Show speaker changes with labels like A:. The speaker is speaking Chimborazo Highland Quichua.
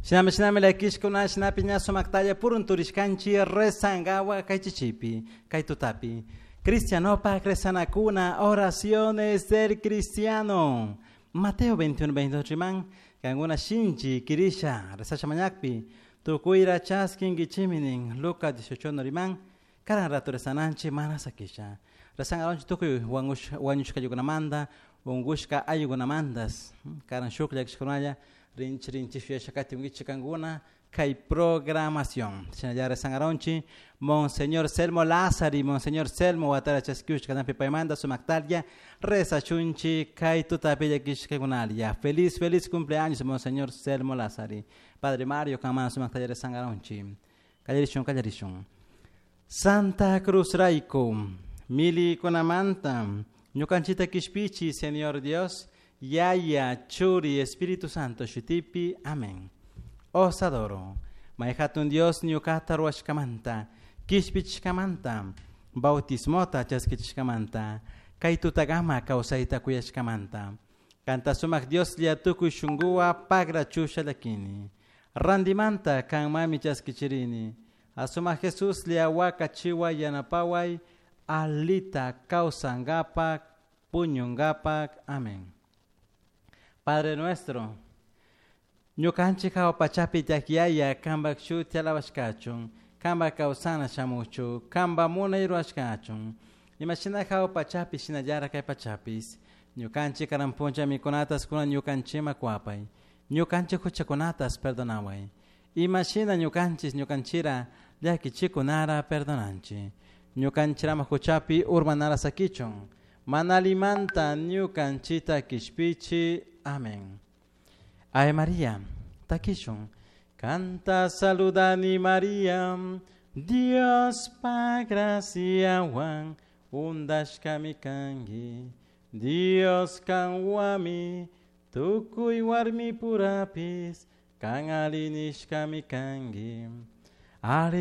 A: Shinami shinami llakishkuna shinapi ña sumaktalla purun turishkanchik rezangawa kay chichipi kay tutapi. Cristianopak rezanakuna oraciones del cristiano. Mateo 21, 22 riman kankuna shinchi kirisha rezasha mañakpi tukuyra chaskinkichiminin Lucas 18 riman karan rato rezananchik mana sakisha. Rezangaronchik tukuy wañushkayukunamanta unkushka ayukunamantas karan shuk llakishkunalla rinchi rinchi shuyasha katinkichik kankuna kay programación. Shinallara rezangaronchik Monseñor Selmo Lázari, Monseñor Selmo watara chaskiushka kanampi paymanta sumaktalya rezachunchik kay tutapi llakishkakunalla. Feliz, feliz cumpleaños Monseñor Selmo Lázari. Padre Mario kanman sumaktalla rezangaronchik. Kallarishun, kallarishun. Santa Cruz rayku, milikunamanta, ñukanchita kishpichi, Señor Dios, Yaya, Churi, Espíritu Santo, shutipi, amén. Os adoro. May hatun Dios ñukata ruwashkamanta, kishpichishkamanta, bautismota chaskichishkamanta, kay tutagama kawsayta kuyashkamanta. Kanta sumak Dios lla tukuy shunkuwa pagra chusha llakini. Randimanta kanmami chaskichirini. Asumak Jesus lla wakachiwa yanapaway, alita kawsangapak, puñungapak. Amén. Padre nuestro, ñukanchik hawa pachapi tiyak yaya kanpak shuti alabashkachun, kanpak kawsana shamuchu, kanpak munay rurashkachun. Imashina hawa pachapi shinallara kay pachapis, ñukanchik karan puncha mikunatas kunan ñukanchikman kuwapay, ñukanchik huchakunatas perdonaway. Imashina ñukanchik ñukanchira llakichikunara perdonanchik. Ñukanchirama huchapi urmanara sakichun, mana allimanta ñukanchita kishpichi. Amén. Ave María, takishun. Kanta saludani María, Dios pa graciawan undashkami kanki. Dios kanwami, tukuy warmi purapis, kan ali nishkami kanki. Ali